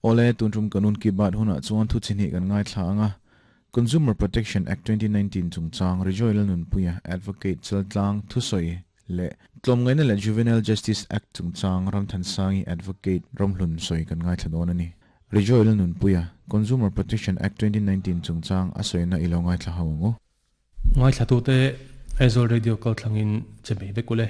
Awle, tun tum Kanun Ki Baat hunah chuan thu chi hnih kan ngaithla ang a, Consumer Protection Act 2019 chungchang Rejoy Lalnunpuia, Advocate Chaltlang thusawi leh Tlawmngaihna leh Juvenile Justice Act chungchang Ramthansangi, Advocate Ramhlun sawi kan ngaithla dawn a ni. Rejoy Lalnunpuia, Consumer Protection Act 2019 chungchang a sawina i lo ngaithla ho ang u. Ngaithlatute Aizawl Radio kalthlangin che mai vek ule.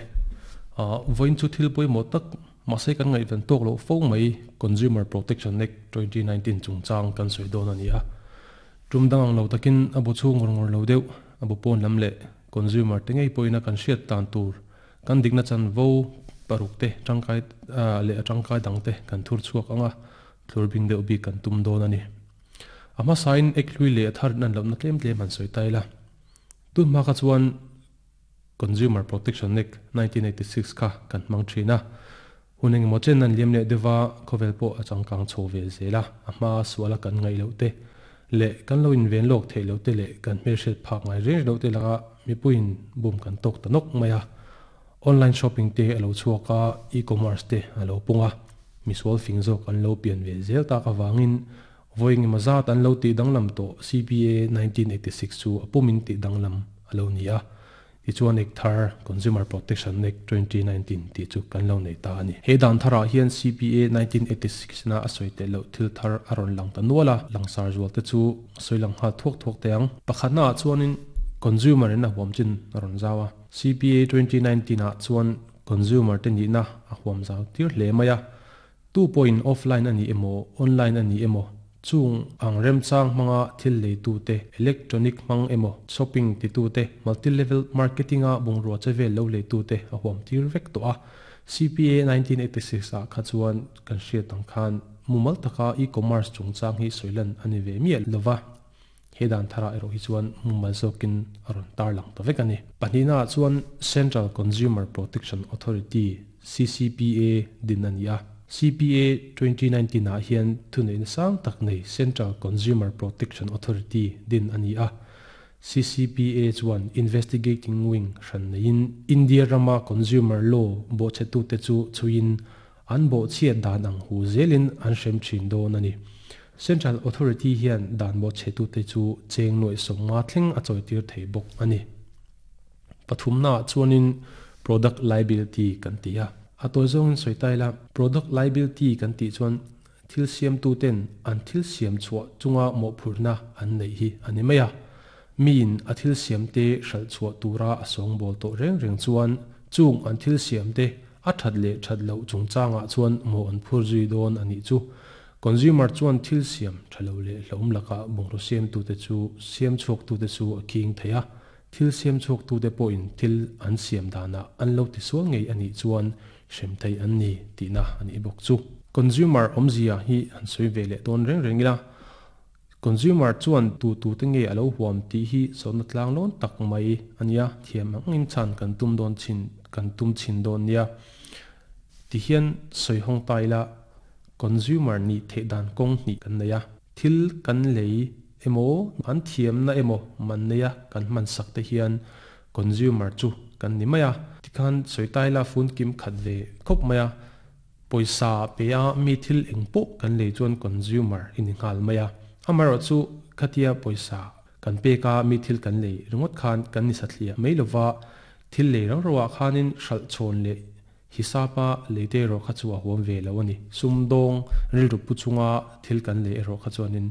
Vawiin chu thil pawimawh tak mahse kan ngaihven tawk loh fo mai Consumer Protection Act 2019 chungchang kan sawi dawn a ni a. Tum dang ang lo takin a bu chhung ngawr ngawr lo deuh, a bu pawn lam leh consumer te ngei pawhin a kan hriat dan tur kan dikna chanvo paruk te tangkai leh a tangkai dang te kan thur chhuak ang a, thlur bing deuh bik kan tum dawn a ni. A hmasain ek hlui leh a thar in an lohna tlem tlem han sawi ta ila. Tun hma kha chuan Consumer Protection Act 1986 kha kan hmang thin a. Hun engemaw chen an liam leh deuh va, khawvel pawh a changkang chho ve zel a, a hma suala kan ngaih loh te leh kan lo inven lawk theih loh te leh kan hmelhriat phak ngai reng loh te laka mipuiin bum kan tawk ta nawk mai a. Online shopping te a lo chhuak a, e-commerce te a lo pung a, misual fing zawk an lo pian ve zel tak avangin vawi engemaw zat an lo tih danglam tawh CPA 1986 chu a pumin tih danglam a lo ni a, tichuan ek thar Consumer Protection Act 2019 tih chu kan lo nei ta a ni. He dan tharah hian CPA 1986 na a sawi teh loh thil thar a rawn lang ta nual a, langsar zual te chu sawi lang nghal thuak thuak teh ang. Pakhatnaah chuanin consumer in a huam chin a rawn zau a. CPA 2019 ah chuan consumer te nihna a huam zau tir hle mai a, tu pawhin offline a ni emaw online a ni emaw chung ang remchang hmanga thil leitu te, electronic hmang emaw shopping titu te, multi level marketing a bungrua che vel lo leitu te a huam tir vek tawh a. CPA 1986 ah kha chuan kan hriat ang khan mumal taka e-commerce chungchang hi sawilan a ni ve miah lova. He dan tharah erawh hi chuan mumal zawkin a rawn tarlang ta vek a ni. Pahnihnaah chuan Central Consumer Protection Authority, CCPA, din a ni a. CPA 2019 ah hian thuneihna sang tak nei Central Consumer Protection Authority din a ni a. CCPA chuan Investigating Wing hran neiin India rama consumer law bawhchhetute chu chhuiin An bawhchhiat dan ang hu zelin an hrem thin dawn a ni. Central Authority hian dan bawhchhetute chu cheng nuaih 50 thleng a chawitir thei bawk a ni. Pathumnaah chuanin Product Liability kan ti a. A tawi zawngin sawi ta ila, Product Liability kan tih chuan thil siamtuten an thil siam chhuah chunga mawhphurhna an neih hi a ni mai a. Miin a thil siamte hralh chhuah tura a sawngbawl tawh reng reng chuan chung an thil siamte A that leh that loh chungchangah chuan maw an phur zui dawn a nih chu. Consumer chuan thil siam tha lo leh hlauhawm lakah bungraw siamtute chu siam chhuaktute chu a khing thei a, thil siam chhuaktute pawhin thil an siam danah an lo tisual ngei a nih chuan hrem thei an ni tihna a nih bawk chu. Consumer awmzia hi han sawi ve leh dawn reng reng ila, Consumer chuan tu tu te nge a lo huam tih hi zawhna tlang lawn tak mai a nia, thiam angin chhan kan tum dawn chin kan tum chhin dawn nia. Ti hian sawi hawng ta ila, consumer nih theih dan kawng hnih kan nei a, thil kan lei emaw an thiamna emaw man neia kan hman sak te hian consumer chu kan ni mai a. Tikhan sawi ta ila fun kim khat ve khawp mai a. Pawisa pe a mi thil eng pawh kan lei chuan consumer i ni nghal mai a. Amaherawh chu khatia pawisa kan pek a mi thil kan lei ringawt khan kan ni sathliah mai lova, thil lei rau rauah khanin hralh chhawn leh hisapa lei te erawh kha chu a huam ve lo a ni. Sumdawng rilru pu chunga thil kan lei erawh kha chuanin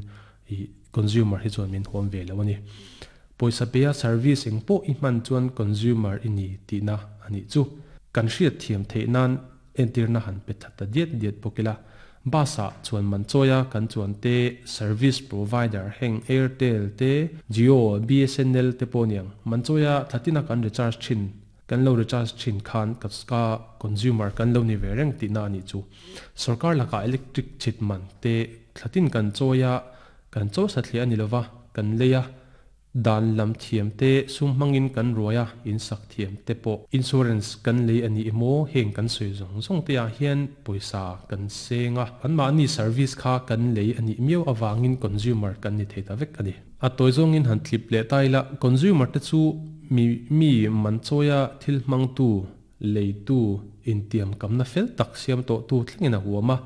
i consumer hi chuan min huam ve lo a ni. Pawisa pe a service eng pawh i hman chuan consumer i ni tihna a nih chu. Kan hriat thiam theih nan Entirna han pe that ta diat diat bawk ila, bus ah chuan man chawi a kan chuan te, service provider heng Airtel te, Jio, BSNL te pawh niang, man chawi a thlatin a kan recharge thin, kan lo recharge thin khan ka ka consumer kan lo ni ve reng tihna a nih chu. Sorkar lakah electric chhit man te thlatin kan chawi a, kan chaw satliah a ni lova, kan lei a, Dan lam thiam te, sum hmangin kan ruai a, in sak thiam te pawh. Insurance kan lei a ni emaw, heng kan sawi zawng zawng te ah hian pawisa kan seng a, anmahni service kha kan lei a nih miau avangin consumer kan ni thei ta vek a ni. A tawi zawngin han tlip leh ta ila, consumer te chu mi mi man chawia thil hmangtu, leitu, intiamkamna fel tak siam tawhtu thlengin a huam a.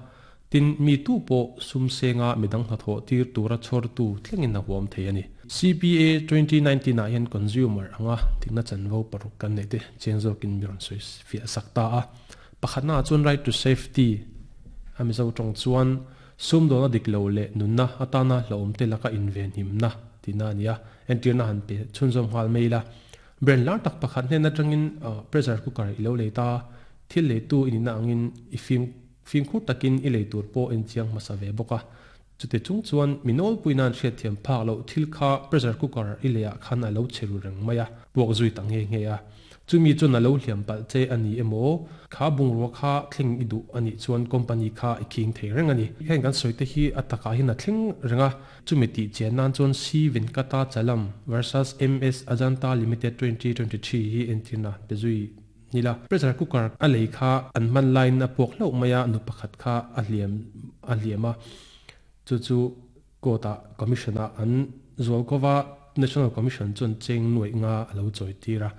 Tin, mi tu pawh sum senga midang hnathawh tir tura chhawrtu thlengin a huam thei a ni. CPA 2019 ah hian consumer anga dikna chanvo paruk kan neih te chiang zawkin mi rawn sawi fiah sak ta a. Pakhatna ah chuan right to safety a Mizo tawng chuan sumdawna dik lo leh nunna atana hlauhawm te laka invenhimna tihna a ni a. Entirna han pe chhunzawm nghal mai ila. Brand lar tak pakhat hnen atangin pressure cooker i lo lei ta, thil leitu i nihna angin i fim Fimkhur takin i lei tur pawh en chiang hmasa ve bawk a. Chute chung chuan mi nawlpui nan hriatthiam phak loh thil kha pressure cooker i leiah khan a lo che ru reng mai a, puak zui ta nghe nghe a. Chumi chuan a lo hliam palh che a ni emaw, kha bungrua kha thleng i duh a nih chuan company kha i khing thei reng a ni. Heng kan sawi te hi a takah hian a thleng reng a, chumi tih chian nan chuan C Venkata Chalam versus MS Ajanta Limited 2023 hi entirna pe zui Nila, pressure cooker a lei kha an hman laiin a puak hlauh mai a, nu pakhat kha a hliam a hliam a, chu chu court ah commission ah an zual ko va, National Commission chuan cheng nuaih nga a lo chawi tir a.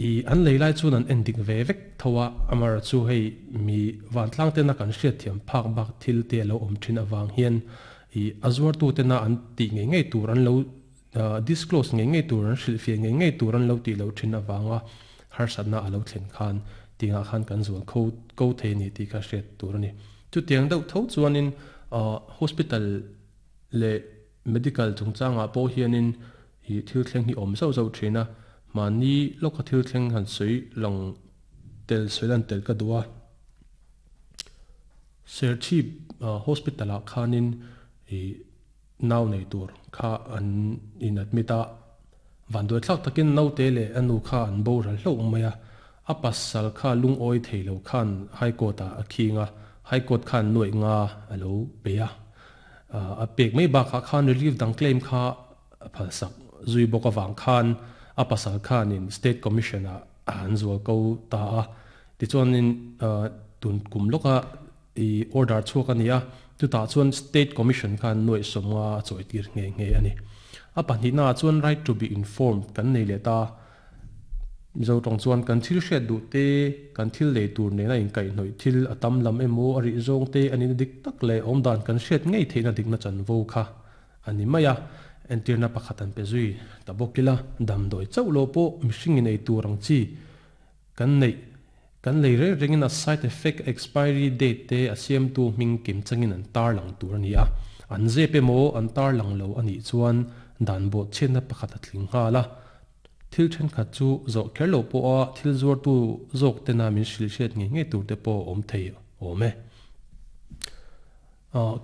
I an lei lai chuan an en dik ve vek tho a, amar chu hei mi vantlang tena kan hriatthiam phak bak thil te a lo awm thin avang hian i a zuartu tena an tih ngei ngei tur an lo Disclose ngei ngei tur an hrilhfiah ngei ngei tur an lo tih loh thin avanga harsatna a lo thlen khan tingah khan kan zual kho ko thei a ni tih kha hriat tur a ni. Chutiang deuh tho chuanin hospital leh medical chungchangah pawh hianin ih thil thleng hi awm zauh zauh thin a, mahni lawka thil thleng han sawi lang tel sawi lan tel ka duh a. Serchhip hospital ah khanin ih Nau nei tur kha an in admit a, vanduai thlak takin naute leh a nu kha an boral hlauh mai a, a pasal kha lungawi thei lo khan High Court ah a khing a, High Court khan nuaih nga a lo pe a, a pek mai bakah khan relief dang claim kha a phalsak zui bawk avang khan a pasal khanin State Commission ah an zual ko ta a, tichuanin tun kum lawka I order chhuak a ni a, chutah chuan State Commission khan nuaih sawmnga a chawitir nghe nghe a ni. A pahnihnaah chuan right to be informed kan nei leh ta. Mizo tawng chuan kan thil hriat duh te, kan thil lei tur nena inkaihhnawih thil a tam lam emaw a rih zawng te a nihna dik tak leh awmdan kan hriat ngei theihna dikna chanvo kha a ni mai a. Entirna pakhat an pe zui ta bawk ila, damdawi chauh lo pawh mihring inei tur ang chi Kan neih, kan lei reng rengin a side effect, expiry date te a siamtu hming kim changin an tarlang tur a ni a. An zep emaw an tarlang lo a nih chuan dan bawhchhiatna pakhat a tling nghal a. Thil thenkhat chu zawh kher loh pawha thil zuartu zawk tena min hrilh hriat ngei ngei tur te pawh a awm thei awm e.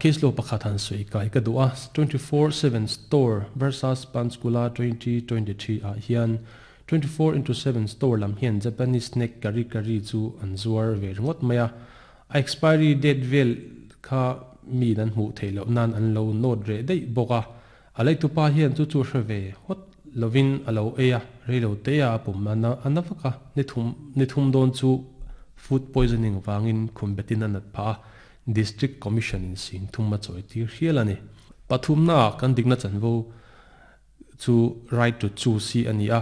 Case law pakhat han sawi kai ka duh a, 24/7 Store versus Panchkula 2023 ah hian 24/7 Store lam hian Japanese snack curry curry chu an zuar ve ringawt mai a, a expiry date vel kha miin an hmuh theih loh nan an lo note reh daih bawk a, a leitupa hian chu chu hre ve hawt lovin a lo ei a, reilo te a pum a na vak a, ni thum dawn chu food poisoning vangin khum betin a nat phah a, District Commission in sing thum a chawi tir hial a ni. Pathumna ah kan dikna chanvo chu right to choose hi a ni a,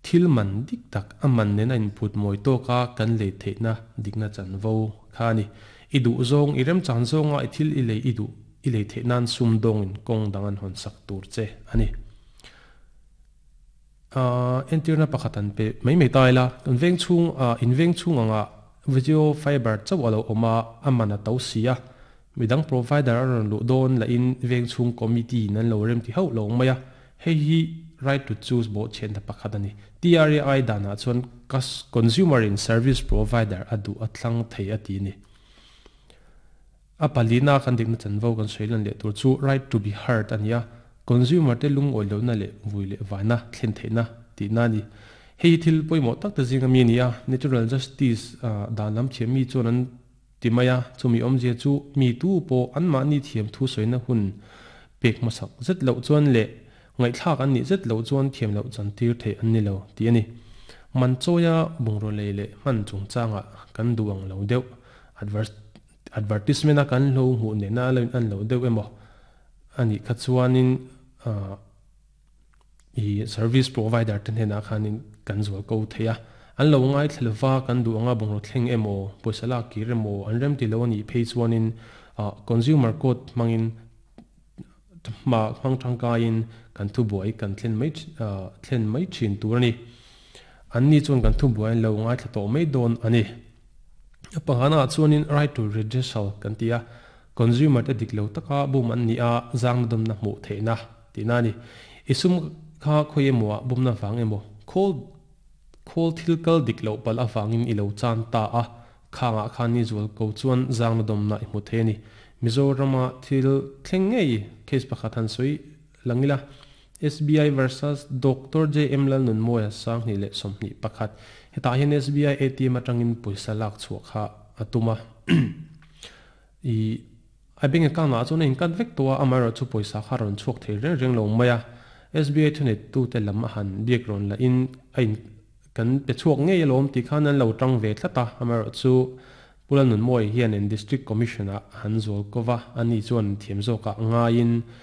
thil man dik tak a man nen a inphut mawi tawk a kan lei theihna dikna chanvo kha a ni. I duh zawng, i remchan zawnga i thil i lei i duh i lei theih nan sumdawngin kawng dang an hawn sak tur che a ni. Entirna pakhat an pe mai mai ta ila, kan veng chhung in veng chhung anga video fiber chauh a lo awm a, a man a to si a, midang provider a rawn luh dawn lahin veng chhung committee in an lo rem ti hauh lo mai a, hei hi right to choose bawhchhiatna pakhat a ni. TRAI danah chuan consumer in service provider a duh a thlang thei a ti a ni. A palina kan dikna chanvo kan sawi lan leh tur chu right to be heard a ni a, consumer te lungawi lohna leh vui leh vaina thlen theihna tihna a ni. Hei hi thil pawimawh tak te zinga mi a ni a, natural justice dan lam thiam mi chuan an ti mai a, chumi awmzia chu mi tu pawh anmahni thiam thu sawina hun pek hmasak zet loh chuan leh ngaihthlak an nih zet loh chuan thiam loh chantir theih an ni lo tih a ni. Man chawia bungraw lei leh hman chungchangah kan duh ang lo deuh Advertisement a kan hlo hmuh nena a lo in an lo deuh emaw a nih kha chuanin i service provider te hnenah khanin kan zual ko thei a. An lo ngaithla lova kan duh anga bungraw thleng emaw, pawisa lak kir emaw an rem ti lo a nih phei chuanin Consumer Court hmangin hma hmang tangkaiin kan thubuai kan thlen mai thlen mai thin tur a ni. Anni chuan kan thubuai an lo ngaithla tawh mai dawn a ni. A pangana chuanin right to redressal kan ti a, consumer te dik lo taka bum an nih a, zangna dawmna hmuh theihna tihna a ni. I sum kha khawi emaw ah bumna vang emaw, khawl khawl thil kal dik loh palh avangin i lo chan ta a, khangah khan ni zual ko chuan zangna dawmna i hmu thei a ni. Mizorama thil thleng ngei case pakhat han sawi lang ila, SBI versus Doctor JM Lalnunmawia 2021. Hetah hian SBI ATM atangin pawisa lak chhuah kha a tum a. I a bank account ah chuan a incut vek tawh a, amaherawh chu pawisa kha a rawn chhuak thei reng reng lo mai a. SBI thuneitute lam a han biak rawn lahin a in kan pe chhuak ngei alawm tih khan an lo tang ve tlat a, amaherawh chu Pu Lalnunmawia hian in District Commission ah han zual ko va, ani chuan thiam zawkah ngaiin.